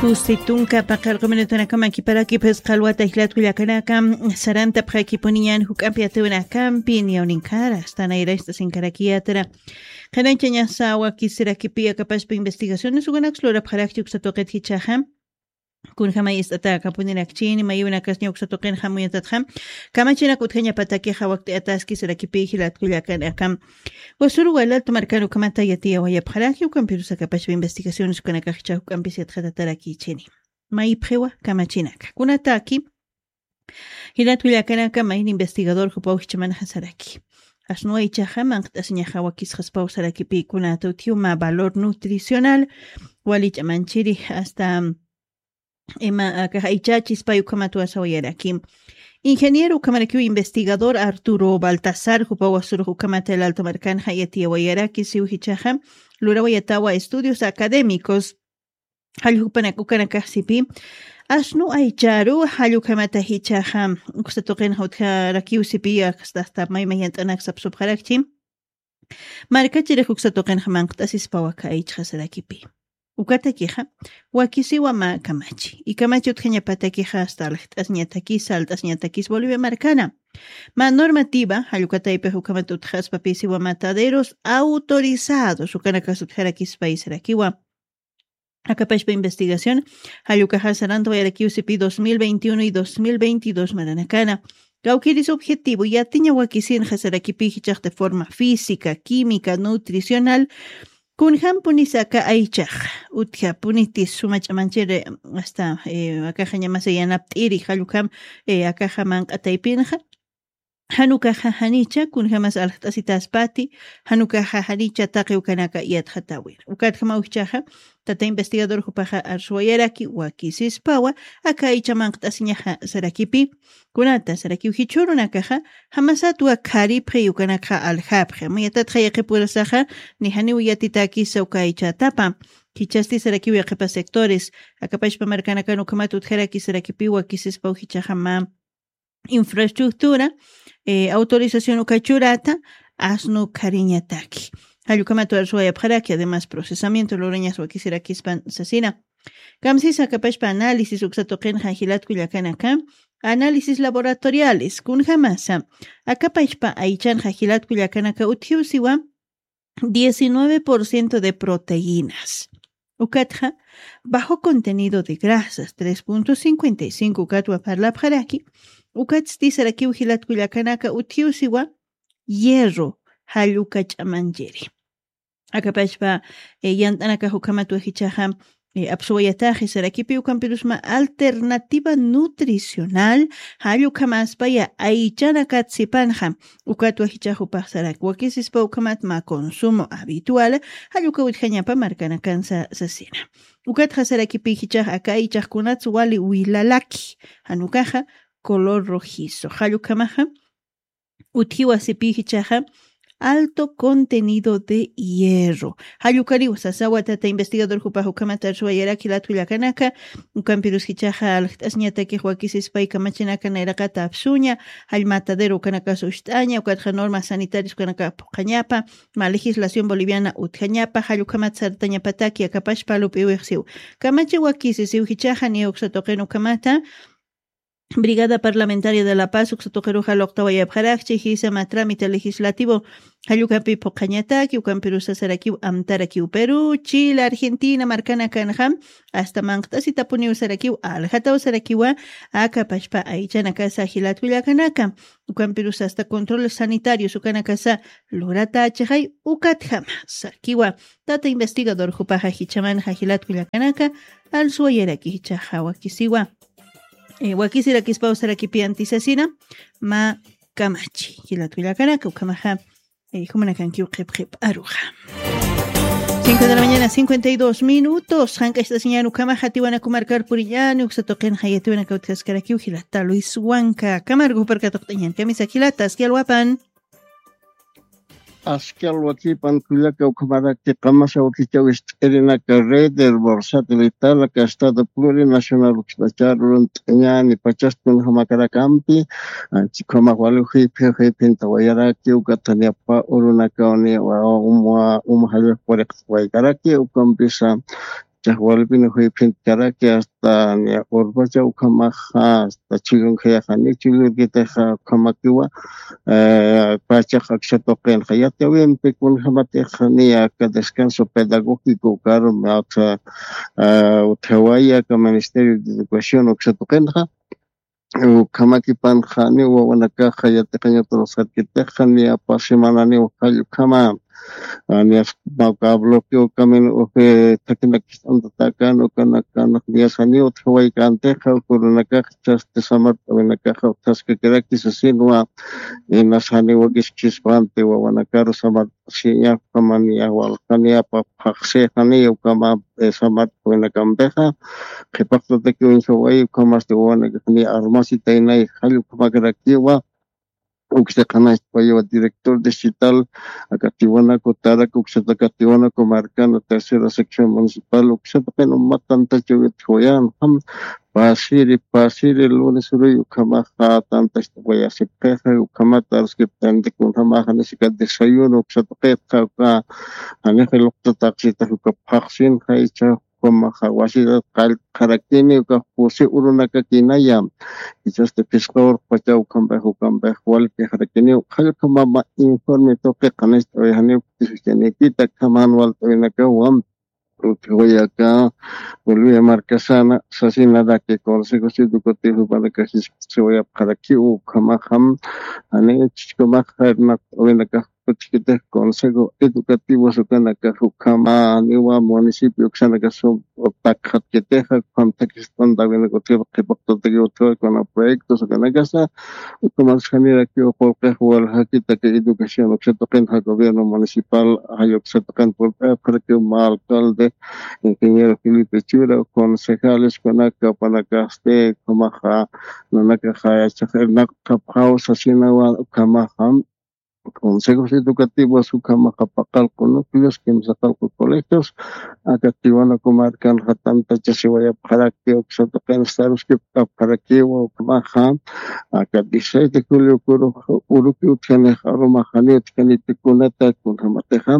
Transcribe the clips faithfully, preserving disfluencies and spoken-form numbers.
Kusti tunka paqar q'uminutanakaman kiparaki phisqa alwata jilata kullakanaka, sarantapxakipuniñan juk'ampi atiwinakampi niyawninkara, asta nayracht'asinkarakiyatra. Qhanañchañasa wakisirakipi akapaspa investigaciones ukanaks lurapxarakchi uksa tuqit jichhaxa. Kunjamay ist'ata akapunirakchini, mayunakas ña uksa tuqin jamuyatatxa. Kamachinak utjañapatakixa wakt'ayataskisirakipi jilat kullakanaka. Wasuru walal tumarkan ukhamata yatiyawayapxaraki, ukampirus akapaspa investigaciones ukanakax jichha juk'ampis yatxatatarakïchini. Maypxiwa kamachinaka. Kunataki, jilat kullakanaka mayni investigador jupaw jichhamanxa saraki. Asnuwa jichhaxa manq't'asiñaxa wakisxaspaw sarakipi kunata utjiw mä valor nutricional, wali ch'amanchiri hasta ima akax aychachispay ukhamat wasawayaraki. Ingeniero ukhamarakiw investigador Arturo Baltasar, jupaw wasurux ukhamata el Alto markanxa yatiyawayaraki, siw jichhaxa lurawayatawa estudios académicos, jall jupanak ukanakax sipi, asnu aycharu, jall ukhamata jichhaxa uksa tuqinxa utjarakiw sipi, asta, asta mayma yant'anak sapsupxarakchi. Markachirix uksa tuqinxa manqt'asispawa aka aychxasarakipi. Ukatakixa, wakisiwa mä kamachi. Y kamachi utjañapatakixa asta aljt'asñatakis, salt'asñatakis Bolivia markana. Mä normativa, jall uka taypix ukhamat utjaspapisiwa mataderos autorizados, ukanakas utjarakispay sarakiwa. Akapashpa investigación, jall ukaxa sarantawayarakiw sipi dos mil veintiuno y dos mil veintidós maranakana. Kawkïris objetivo, yatiña wakisinxa sarakipi jichhax de forma física, química, nutricional, kunjampunisa aka aychax, utjapunitis suma ch'amanchiri, hasta, eh, akaxa ñamasa yanapt'iri, jall ukham, eh, akaxa manq'ataypinxa, jan ukaxa janicha kunjamas aljt'asitaspati, jan ukaxa janicha taqi ukanaka yatxatäwir. Ukatjamaw jichhaxa, tata investigador jupaxa arsuwayaraki wakisispawa, aka aycha manqt'asiñaxa sarakipi, kunata sarakiw jichhürunakaxa, jamasatwa kharipxi ukanakxa aljapxi. Amuyatatxa yaqhipurasaxa, ni janiw yatitäkisa uka aychatapa. Jichhasti sarakiw yaqhipa sectores, akapashpa markanakan ukhamat utjaraki sarakipi wakisispaw jichhaxa mä infraestructura, eh, autorización uka churata, asnu khariñataki. Jall ukhamat arsuwayapxaraki, además procesamiento lurañas wakisirakispan sasina. Kamsisa akapashpa análisis uksa tuqinxa jilat kullakanaka, análisis laboratoriales, kunjamasa, akapashpa aychanxa jilat kullakanaka utjiw siwa, diecinueve por ciento de proteínas. Ukatxa, bajo contenido de grasas, tres punto cincuenta y cinco ukatwa parlapxaraki, ukatsti sarakiw jilat kullakanaka utjiw siwa, hierro, jall uka ch'amanchiri. Akapashpa, eh, yant'anakax ukhamatwa jichhaxa, eh, apsuwayataxi sarakipi ukampirus mä alternativa nutricional, jall ukhamaspaya aychanakat sipanxa, ukatwa jichhax jupax sarak wakisispa ukhamat mä consumo habitual, jall uka utjañapa markanakansa sasina. Ukatxa sarakipi jichhax aka aychax kunats wali wilalaki, jan ukaxa color rojizo, jall ukhamaxa, utjiwa sipi jichhaxa, alto contenido de hierro. Jall ukariw sasawa tata investigador jupax ukhamat arsuwayaraki jilat kullakanaka, ukampirus jichhaxa aljt'asñatakix wakisispay kamachinaka nayraqata apsuña, jall matadero ukanakas ucht'aña, ukatxa normas sanitarias ukanaka phuqhañapa, mä legislación boliviana utjañapa, jall ukhamat sartañapataki akapashpa lup'iwix siw. Kamachi wakisi siw jichhaxa niya uksa tuqin ukhamata, Brigada Parlamentaria de la Paz uksa tuqiruxa luqtawayapxarakchi, jisa mä trámite legislativo jall ukapi phuqhañataki, ukampirusa sarakiw amtarakiw Perú, Chile, Argentina markanakanxa, asta manqt'asitapuniw sarakiw, aljataw sarakiwa, akapashpa aychanakasa jilat kullakanaka, ukampirusa asta controles sanitarios ukanakasa luratächixay, ukatjama sakiwa, tata investigador jupaxa jichhamanxa jilat kullakanaka, arsuwayaraki jichhaxa wakisiwa. Eh, wakisirakispaw sarakipi antisasina, mä kamachi. Jilat kullakanaka, ukhamaxa, eh, jumanakankiw qhipqhip'aruxa. Cinco de la mañana, cincuenta y dos minutos. Jank'acht'asiñan ukhamaxa, Tiwanaku markar puriñani, uksa tuqinxa yatiwanaka utjaskarakiw jilata Luis Huanca. Camargo jupar katuqt'añan, kamisa jilata, aski alwapan. Aski alwakipan kullaka, ukhamaraki qamasa wakichaw ist'irinaka red herbor satelital aka estado plurinacional ukst'achar urunt'añani pachas kunjamakarakampi, anchi ukhamax wali juyphi juyphintawayaraki, ukataniapa urunakawni wa uma uma jallaq puriqtawaykaraki, ukampisa chaqwalpin juyphinkaraki hasta niya urpacha ukhamaxa hasta chullunkhayajani chullurkitaxa ukhamakiwa pachax aksatuqinxa yatiyawimpi kunjamatixa niya aka descanso pedagógico ukaru mawtha utjawaya aka ministerio de educación uksatuqinxa ukhamakipanxa niwa wawanakaxa yatiqañaturusqarkitixa niya pasimana niwa jall ukhama niya mawka bloqueo kamin uji thakinakist'antatakan ukanakanax niyasaniw utjawaykantixa ukurunakax chasti samart'awinakaxa utjaskakiraki sasinwa inasaniwa kiskispanti wawanakaru samart'asiña ukhama niya walja niya phaxsixaniya ukhama samart'awinakampixa qhipaqtatakiw uñjaway ukhamasti wawanakax niya armasitaynay jall ukhamakarakiwa uksaqanacht'awayiwa director distrital aka tiwanaku tarak uksataka tiwanaku markana tercera sección municipal uksataqin umat tantachawitjawayan jam pasiri pasiri lunes uruy ukhamaxa tantachawayasipxixa ukhamata aruskipt'anti kunjamaxa nisika desayuno uksataqitxa uka janixa luqtataqsitax uka phaxsinxa icha ukhamaxa wasitat qallqarakini uka pusi urunakakinaya ichasti phisqa urqpacha ukhampix ukampix walpixarakiniw qhallqamama informe tuqi qhanist'awayjaniw kutisischanikita khaman walt'awinakawa utjawayaka bolivia markasana sasinaraki consejos educativos jupanakax jiskisiwayapxarakiw ukhamaxam jani chichkamaxa irnaqt'awinakax kuchkitix consejo educativos ukanakax ukhama niwa municipio uksanakax takxatkitixa ukham takist'antawinakutiw qhipaqtatakiw utjawa kuna proyectos ukanakasa ukhamas janirakiw qullqix waljakitaki educación uksatuqinxa gobierno municipal jay uksatuqin purp'ayapxarakiw mä alcalde ingeniero felipe chura concejales kunaka upanakasti ukhamaxa nanakaxa yachax irnaqtxapxaw sasinawa ukhamaxa consejos educativos ukhamaxa paqallqu núcleos kimsaqallqu colegios aka tiwanaku markanxa tantachasiwayapxaraki uksatuqin saruskipkapxarakiwa ukhamaxa aka dieciséis de julio kurux uruki utjanix arumaxani utjaniti kunata kunjamatixa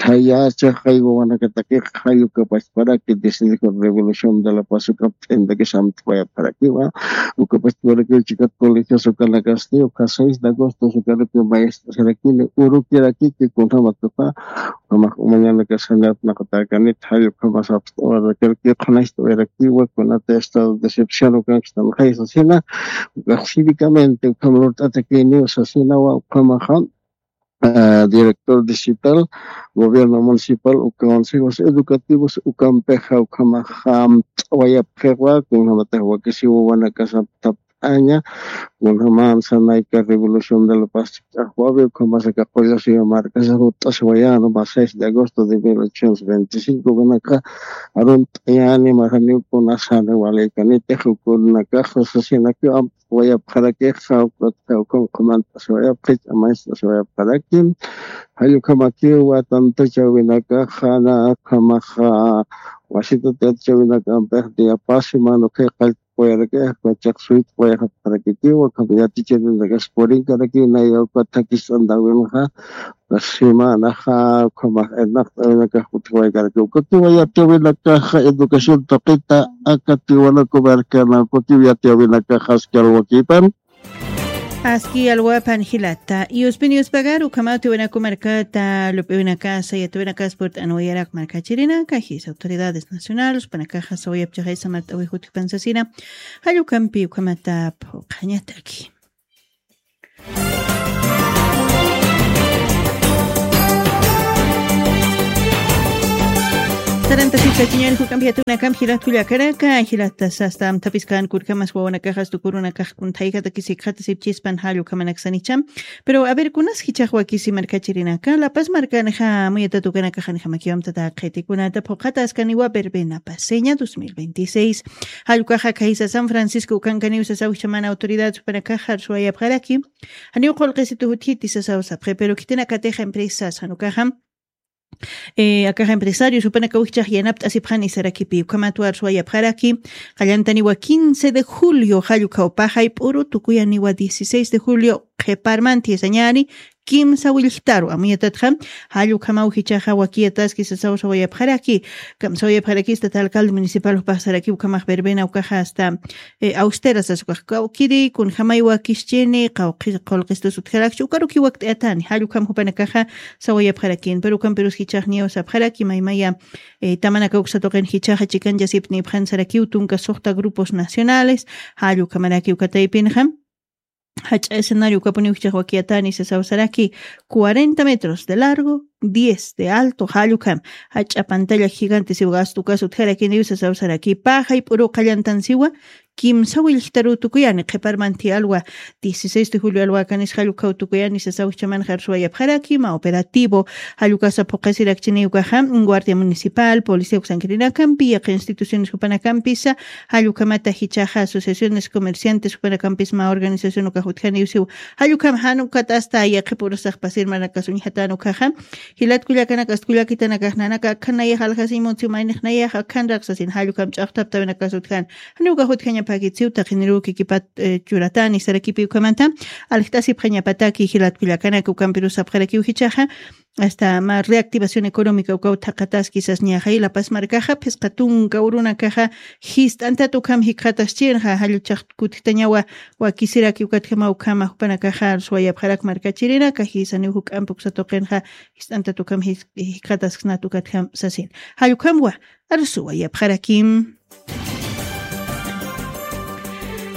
thayachaxay wawanakatakixa jay ukapachparaki disniku revolución de la paz ukapt'intakis amt'wayapxarakiwa ukapachparakiw chikat colegios ukanakasti uka seis de agosto ukaruki maestros rakini urukirakiki kunjamatuxa ukhamax umañanakas janirapnaqatakanit jay ukhamas apst'awarakaraki qhanacht'awayarakiwa kunata estado de excepción ukankstanxay sasina ukax cívicamente ukham lurt'atakiniw sasinawa ukhamaxa director distrital gobierno municipal uka consejos educativos ukampixa ukhamaxa amt'awayapxiwa kunjamatix wakisiw wawanakasap tapt'aña kunjaman sanayka revolución de la paz ch'axwawi ukhamasaka qullasiwa markasa jut'asiwayan mas seis de agosto de mil ochocientos veinticinco ukanaka arunt'ayani maraniw kunasani walaykanitix ukunakaxa sasinakiw amt'awayapxarakixa ukatxa ukham qhumant'asiwayapxich amañcht'asiwayapxaraki jay ukhamakiwa tantachawinakaxa na ukhamaxa wasitat yatichawinakampix diapasiman ukhay qallt'awayarakix ukachax suyt'awayxapxarakitiwa ukham yaticharinakax purinkarakina yawka thakist'antawinxa uka semanaxa ukhamax irnaqt'awinakax utjawaykaraki ukakiwa yatiyawinakaxa educación tuqita aka tiwanaku markana ukakiw yatiyawinakaxa aski alwakipan aski alwapan jilata yuspin yuspagar ukhamaw tiwanaku markata lup'iwinakasa yatiwinakas purt'anwayarak markachirinaka jisa autoridades nacionales upanakaxa sawayapchaxay samart'awi jutkipan sasina jallukampi ukhamata phuqhañataki sarantasiskachiñan juk'ampi yatiwinakampi jilat kullakanaka jilata sasta amthapiskan kurkamas wawanakaxas tukurunakax kunthaykataki sikxatasipchispan jall ukhamanakasanicham pero a ver kunas jichhax wakisi markachirinaka lapas markanxa muyatatukanakaxanixamakiwamtata qhitikunata phuqhataskaniwa verbena paseña dos mil veintiséis jallkaxa khaysa san francisco ukankaniw sasaw jichhaman autoridades upanakaxa arsuwayapxaraki janiw qullqisitu jutjiti sasaw sapxi pero khitinakatixa empresas janukaxa akax empresarios upanakaw jichhax yanapt'asipxani sarakipi ukhamatwa arsuwayapxaraki qallantaniwa quince de julio jall ukhawpaxay p'uru tukuyaniwa dieciséis de julio qhiparmanti sañani kimsa willktaru amuyatatxa, jall ukhamaw jichhaxa wakiyataski sasaw sawayapxaraki. Ukham sawayapxaraki, hasta alcalde municipal jupax saraki ukhamax verbena ukaxa hasta, eh, austera sas ukax, kawkiri kunjamay wakischini, qawqi-, qullqistus utjarakchi, ukaruki wakt'ayatani, jall ukham jupanakaxa sawayapxarakin. Pero ukhampirus jichhax niyaw sapxaraki, maymaya, eh, tamanaka uksa tuqin jichhaxa chikanchasipnipxan sarakiw tunka suxta grupos nacionales, jall ukhamaraki uka taypinxa. Jach'a escenario ukapuniw jichhax wakiyatani sasaw saraki, cuarenta metros de largo, diez de alto, jall ukham, jach'a pantalla gigante siwa gastu ukas utjarakiniw sasaw saraki, pä jayp'uru qallantan siwa, kimsa willktaru tukuyani, qhiparmanti alwa, dieciséis de julio alwa kanis jall ukhaw tukuyani sasaw jichhamanxa arsuwayapxaraki, mä operativo, jall ukasa phuqhasirakchini ukaxa, Guardia Municipal, policía uksankirinakampi, yaqha instituciones jupanakampisa, jall ukhamata jichhaxa asociaciones comerciantes jupanakampis mä organización ukax utjaniw siw. Jall ukham jan ukat hasta yaqhipurasax pasir maranakas uñjatan ukaxa. Jilat kullakanaka, ast kullakitanakax nanaka akhan nayax aljasiñ muntsiw, maynix nayax akhanrak sasin, jall ukham ch'axtaptawinakas utjan. Janiw ukax utjañapäkit siw, taqiniruw kikipat, eh, churatani sarakipi ukhamata. Aljt'asipxañapataki jilat kullakanaka, ukhampirus sapxarakiw jichhaxa. Hasta mä reactivación económica ukaw thaqhataski sasñaxa, La Paz markaxa phisqa tunka urunakaxa jist'antat ukham jikxataschinxa, jall ch'axt kutjtañawa wakisiraki ukatjama ukhama jupanakaxa arsuwayapxarak markachirinaka, jisaniw juk'ampi uksa tuqinxa jist'antat ukham jis-, jikxatasksnat ukatjam sasin. Jall ukhamwa arsuwayapxarakim.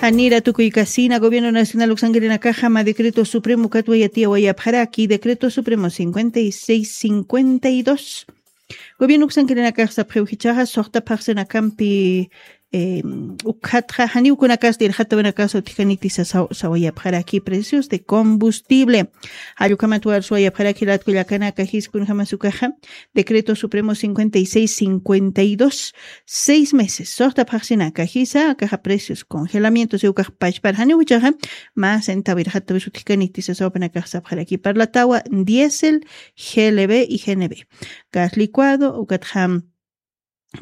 Janira tukuykasina, Gobierno Nacional uksankirinakaxa mä decreto supremo ukatwa yatiyawayapxaraki, decreto supremo cincuenta y seis cincuenta y dos. Gobierno uksankirinakax sapxiw jichhaxa suxta phaxsinakampi, eh, ukhatxa janiw kunakasti irxatawinakas utjkaniti sasaw-, sawayapxaraki precios de combustible. Jall ukhamatwa arsuwayapxaraki jilat kullakanaka, jis kunjamas ukaxa, decreto supremo cincuenta y seis cincuenta y dos, seis meses suxta phaxsinaka jisa, akaxa precios congelamiento siw ukax pachpar janiw jichhaxa, mä centavo irxatawis utjkaniti sasaw jupanakax sapxaraki, parlatawa diésel, G L B y G N B. Gas licuado, ukatxa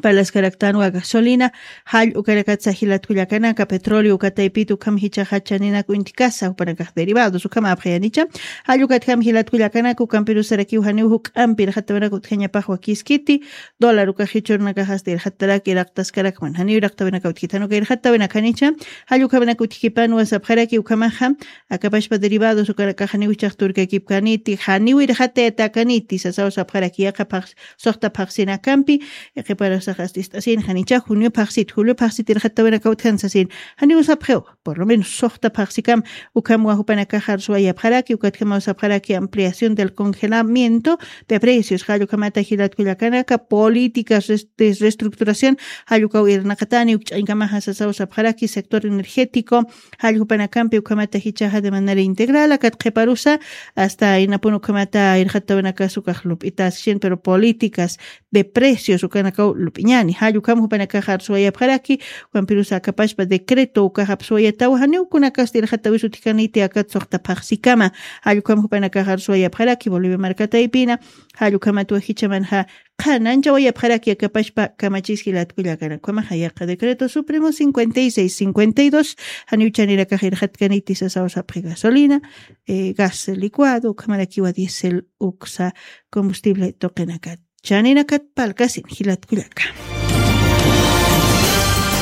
parlaskaraktanwa gasolina, jall ukanakatsa jilat kullakanaka, petróleo uka taypit ukham jichhaxa chaninak uñtkasa, jupanakax derivados ukham apxayanicha, jall ukatjam jilat kullakanaka, ukhampirus sarakiw janiw juk'ampi irxatawinak utjañapax wakiskiti, dólar ukax jichhürunakax hasta irxatarak iraqtaskarakman, janiw iraqtawinaka utjkit, jan uka irxatawinakanicha, jall ukhawinak utjkipanwa sapxaraki ukhamaxa, akapachpa derivados ukanakax janiw jichhax turkakipkaniti, janiw irxatayatäkaniti sasaw sapxaraki, yaqha phax-, suxta phaxsinakampi, qhiparusax ast ist'asin, janicha junio phaxsit, julio phaxsit irxatawinaka utjan sasin, janiw sapxiw, por lo menos suxta phaxsikam, ukhamwa jupanakax arsuwayapxaraki, ukatjamaw sapxaraki ampliación del congelamiento de precios, jall ukhamata jilat kullakanaka, políticas res-, de reestructuración, jall ukaw irnaqatani, uk ch'añkamaxa sasaw sapxaraki, sector energético, jall jupanakampi ukhamata jichhaxa de manera integral, akat qhiparusa, hasta inapun ukhamata irxatawinakas ukax lup'itaskin, pero políticas de precios ukanakaw lup'iñani, jall ukham jupanakax arsuwayapxaraki, ukhampirusa akapachpa decreto ukax apsuwayatawa, janiw kunakasti irxatawis utjkaniti akat suxta phaxsikama, jall ukham jupanakax arsuwayapxaraki, Bolivia marka taypina, jall ukhamatwa jichhamanxa, qhananchawayapxaraki akapachpa kamachis jilat kullakanaka, ukhamaxa yaqha decreto supremo cincuenta y seis cincuenta y dos, janiw chanirakax irxatkaniti sasaw sapxi gasolina, eh, gas licuado, ukhamarakiwa diésel uksa combustible tuqinakat. Chaninakat parlkasin jilat kullaka.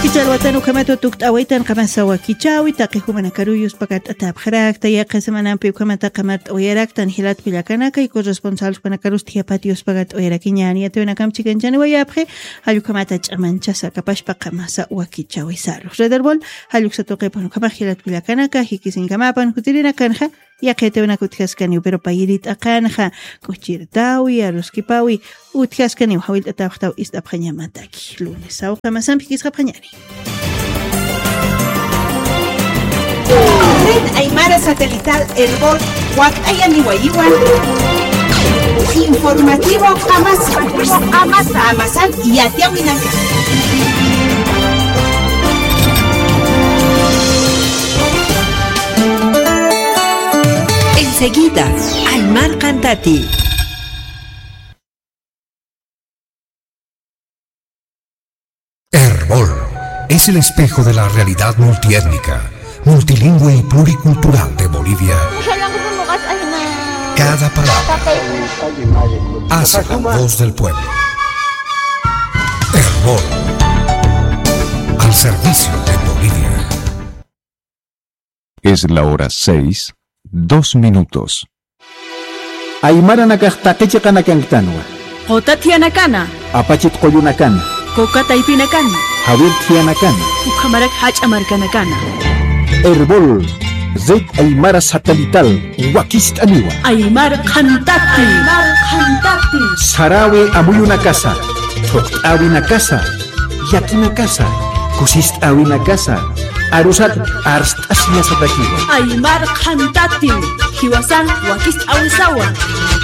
Kichha alwatan ukhamatwa tukt'awaytan qamasa wakichäwi, taqi jumanakaruw yuspakart'atäpxarakta, yaqha semanampi ukhamata qamart'awayaraktan jilat kullakanaka, y corresponsal jupanakarus thiyapati yuspakart'awayarakiñäni, yatiyawinakam chikanchaniwayapxi, jall ukhamata ch'amanchasa akapachpa qamasa wakichäwi. Salud. Red Erbol, jall uksa tuqipan ukhamax jilat kullakanaka, jikisiñkamapan jutirinakanxa, yaqha yatiyawinaka utjaskaniw, pero payiri t'aqanxa, k'uchirtawi, aruskipawi, utjaskaniw, jawillt'atäpxtaw ist'apxañamataki. Lunes, sawqamasampi jikisqapxañäni. Red Aymara Satelital Erbol, wakt'ayaniwayiwan. Informativo qamasa. Qamasa. Qamasan yatiyawinaka. Enseguida, Aymar Cantati. Erbol es el espejo de la realidad multiétnica, multilingüe y pluricultural de Bolivia. Cada palabra hace la voz del pueblo. Erbol, al servicio de Bolivia. Es la hora seis, dos minutos. Aymaranakax taqi chiqanakankitanwa. Quta thiyanakana. Apachit qullunakana. Coca taypinakana. Jawir thiyanakana. Ukhamarak jach'a markanakana. Erbol, Red Aymara Satelital, wakist'aniwa. Aymar qhantati. Aymar qhantati. Sarawi amuyunakasa, thuqt'awinakasa, yakinakasa, kusist'awinakasa, arusat arst'asiyasatakiwa. Aymar qhantati, jiwasan wakist'awisawa.